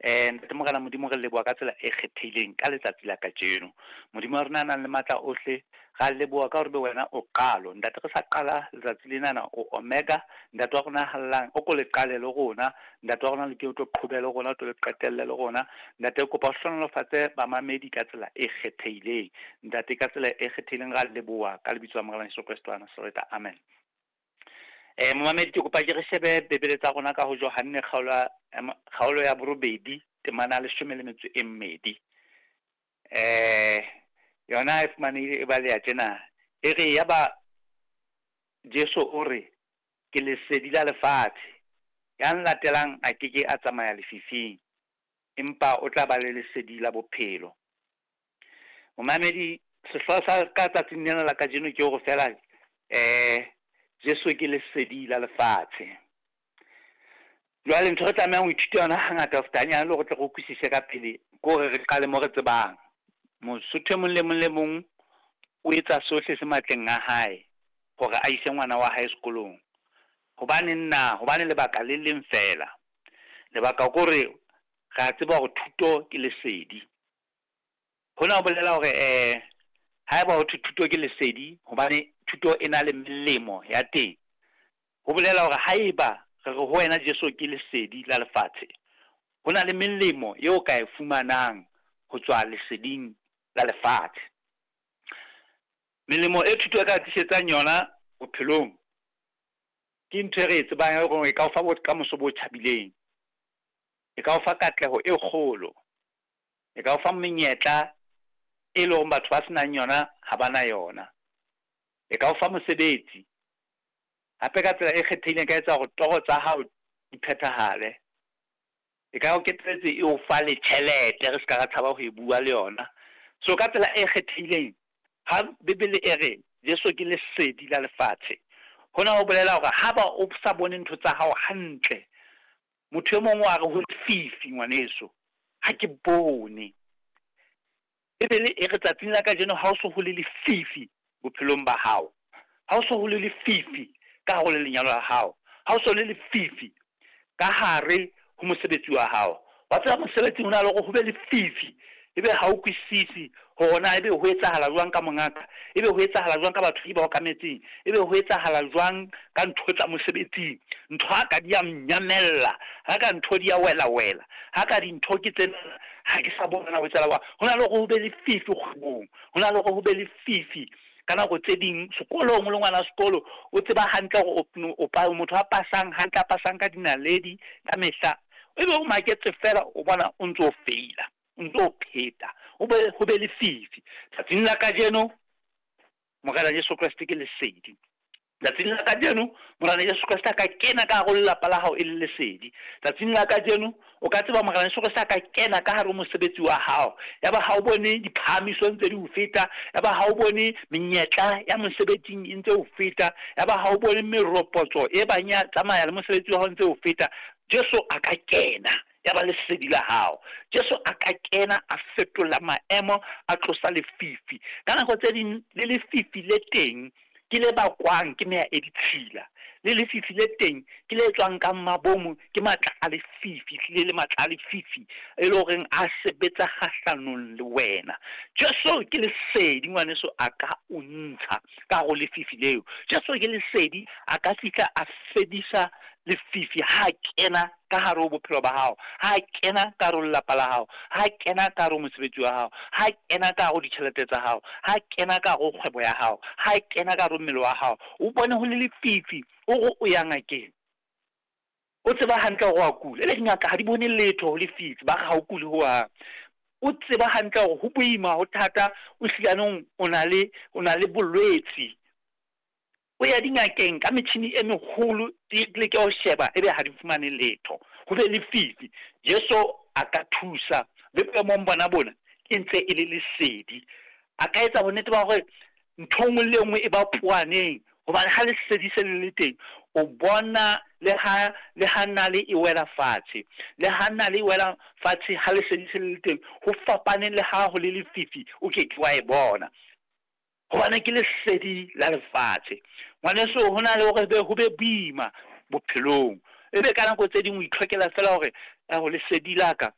Ntate Morena Modimo, re leboha ka tsela e kgethehileng ka letsatsi la kajeno. Modimo wa rona a nang le matla ohle, ra leboha ka hore be wena o qalo. Ntate, re sa qala letsatsi lenana, o omega. Ntate wa rona hallang, o ko le qale le rona. Ntate wa rona le ke o tlo qhobe le rona, o tlo le qetelle le rona. Ntate, kopa o hlohonolofatse bamamedi ka tsela e kgethehileng. Ntate, ka tsela e kgethehileng ra leboha ka lebitso la Morena Jesu Kreste wa Nasaretha. Amen. Momamedi, ke kopa ke re shebe Bibele tsa rona ka ho Johanne kgaolo ya 8, temana 12. Yona e fumanehile e baleha tjena. E re yaba Jesu o re, ke lesedi la lefatshe. Ya nlatelang a ke ke a tsamaya lefifing, empa o tla ba le lesedi la bophelo. Momamedi, sehlooho sa ka tsatsing lena la kajeno ke hore fela Jesu ke lesedi la lefatshe. Jwale ntho re tlamehang ho ithuta yona hangata ho feta hanyane le hore tle re utlwisise ka pele, ke hore re qale mo re tsebang. Mosotho e mong le mong le mong o etsa sohle se matleng a hae hore a ise ngwana wa hae sekolong. Hobane nna, hobane lebaka le leng fela. Lebaka ke hore re a tseba hore thuto ke lesedi. Hona ho bolela hore haeba ho thwe thuto ke lesedi, hobane thuto e na le melemo ya teng. Ho bolela hore haeba re re ho wena Jesu ke lesedi la lefatshe, ho na le melemo eo ka e fumanang ho tswa leseding la lefatshe. Melemo e thuto e ka tlisetsang yona bophelong ke ntho e re e tsebang hore e ka o fa bokamoso bo tjhabileng, e ka o fa katleho e kgolo, e ka o fa menyetla e leng hore batho ba senang yona ha ba na yona, e ka o fa mosebetsi. Hape ka tsela e kgethehileng ka etsa hore toro tsa hao di phethahale. E ka o keteletse e o fa le tjhelete, re ska ra tshaba ho e bua le yona. So ka tsela e kgethehileng, ha Bibele e re Jesu ke lesedi la lefatshe, hona ho bolela hore ha ba o sa bone ntho tsa hao hantle, motho e mong wa re ho lefifi ngwaneso, ha ke bone. Bibele e re tsatsing la kajeno ha o so ho le lefifi bophelong ba hao, ha o so ho le lefifi ka hare ho lenyalo la hao, ha o so le lefifi ka hare ho mosebetsi wa hao. Wa tseba mosebetsing ho na le hore ho be lefifi, ebe ha o kwisisi hore na ebe ho etsahala jwang ka mongaka, ebe ho etsahala jwang ka batho ba okametseng, ebe ho etsahala jwang ka ntho tsa mosebetsing. Ntho ha ka di a nyamella, ha ka ntho di a wela wela, ha ka dintho ke tsena ha ke sa bona ho etsahala jwang. Ho na le hore ho be lefifi kgwebong, ho na le hore ho be lefifi ka nako tse ding sekolong. O le ngwana sekolo o tseba hantle hore o motho a pasang hantle, a pasang ka dinaledi ka mehla, ebe o maketse fela o bona o ntso feila, o ntso pheta, o be ho be lefifi. Tsatsing la kajeno Morena Jesu Kreste ke lesedi. Tsatsing la kajeno Morena Jesu Kreste a ka kena ka hare ho lelapa la hao e le lesedi. Tsatsing la kajeno o ka tseba Morena Jesu Kreste a ka kena ka hare ho mosebetsi wa hao, ya ba ha o bone diphahamiso ntse di o feta, ya ba ha o bone menyetla ya mosebetsing e ntse o feta, ya ba ha o bone meropotso e bang ya tsamaya le mosebetsi wa hao ntse o feta. Jesu a ka kena ya ba lesedi la hao. Jesu a ka kena a fetola maemo, a tlosa lefifi. Ka nako tse ding le lefifi le teng ke le bakwang ke meya e ditshila, le lefifi le teng ke le tswang ka mabomo, ke matla a lefifi, hlile le matla a lefifi e le horeng a sebetsa kgahlanong le wena. Jesu ke lesedi ngwaneso, a ka o ntsha ka hare ho lefifi leo. Jesu ke lesedi, a ka fihla a fedisa lefifi ha kena ka hare ho bophelo ba hao, ha kena ka hare ho lelapa la hao, ha kena ka hare ho mosebetsi wa hao, ha kena ka hare ho ditjhelete tsa hao, ha kena ka hare ho kgwebo ya hao, ha kena ka hare ho mmele wa hao. O bone ho le lefifi, o re o ya ngakeng, o tseba hantle hore wa kula, ele dingaka ha di bone letho ho lefifi, ba re ha o kule hohang. O tseba hantle hore ho boima, ho thata, o hlilanong o na le bolwetsi. O ya dingakeng ka metjhini e meholo, di leke ho sheba, ebe ha di fumane letho, ho be lefifi. Jesu a ka thusa le boemong bona bona, e ntse e le lesedi. A ka etsa bonnete ba hore ntho nngwe le nngwe e ba poaneng, hobane ha lesedi se le le teng, o bona le ha nale e wela fatshe, le ha nale e wela fatshe, ha lesedi se le le teng, ho fapane le ha ho le lefifi, o ke ke wa e bona, hobane ke lesedi la lefatshe. Ngwaneso, ho na le hore ho be boima bophelong, ebe ka nako tse ding o itlhokela fela hore ho lesedi la ka.